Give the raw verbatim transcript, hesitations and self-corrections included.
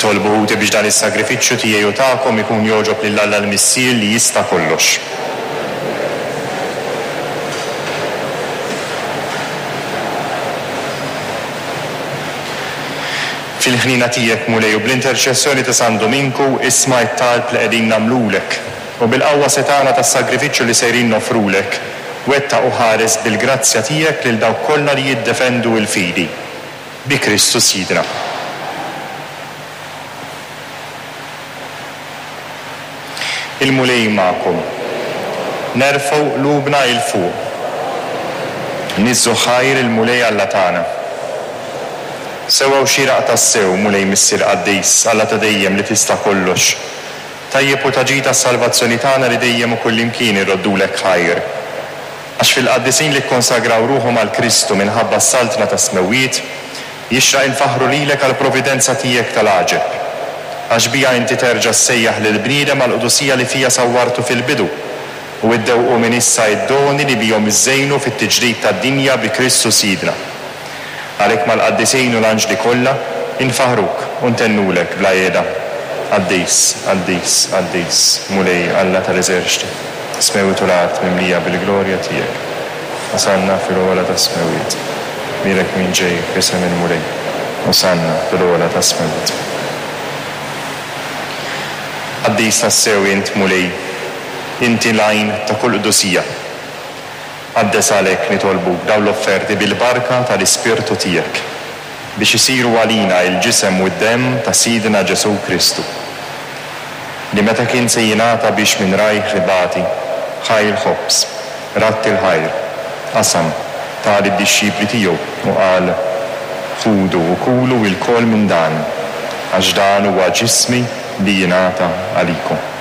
Itolbu ħuti biex dan is-sagrifiċċju tiegħi u tagħkom ikun jogħġob lil Alla l-Missier li jista' kollox. Fil-ħniena tiegħek, Mulej, u bl-interċessjoni ta' San Dominku, isma' t-talb li qegħdin nagħmlulek, u bil-qawwa setgħana tas-sagrifiċċju li sejrin noffrulek, wettaq u ħares bil-grazzja tiegħek lil dawk kollha li jiddefendu l-fidi. Bi Kristu Sidna. Il-Mulej magħkom. Nerfgħu qlubna 'l fuq. Niżżu ħajr il-Mulej Alla tagħna. Sewwa u xieraq tassew, Mulej Missier Qaddis, Alla ta' dejjem li tista' kollox. Tajjeb u ta' ġid għas-salvazzjoni tagħna li dejjem u kullimkien irroddulek ħajr. Għax fil-qaddisin li kkonsagraw ruħhom għal Kristu minħabba s-saltna tas-smewwiet, jixraq infaħħru lilek għall-providenza tiegħek tal-għaġeb. Għax biha inti terġa' ssejjaħ lill-bniedem għall-qdusija li fija sawwartu fil-bidu, u iddewqu minn issa id-doni li bihom iżżejnu fit-tiġdid tad-dinja bi Kristu Sidna. Għalhekk mal-qaddisin u l-anġli kollha infaħruk u ntennulek bla qiegħda. Qaddis, qaddis, qaddis, Mulej Alla tal-eżerċti, smewwiet u l-art mimlija bil-glorja tiegħek. Osanna fil-ogħla tas-smewwiet. Bierek min ġej f'isem il-Mulej. Osanna fil-ogħla tas-smewwiet. Qaddis tassew int, Mulej, inti l-għajn ta' kull qdusija. Qaddes għalhekk nitolbuk dawn l-offerti bil-barka tal-Ispirtu tiegħek, biex isiru għalina il-ġisem u d-demm ta' Sidna Ġesù Kristu, li meta kien se jingħata biex minn rajh ibati, ħa l-ħobż, radd il-ħajr, qasam, ta lid-dixxipli tiegħu u qal: Ħudu u kulu lkoll minn dan, għax dan huwa ġismi li jingħata għalikom.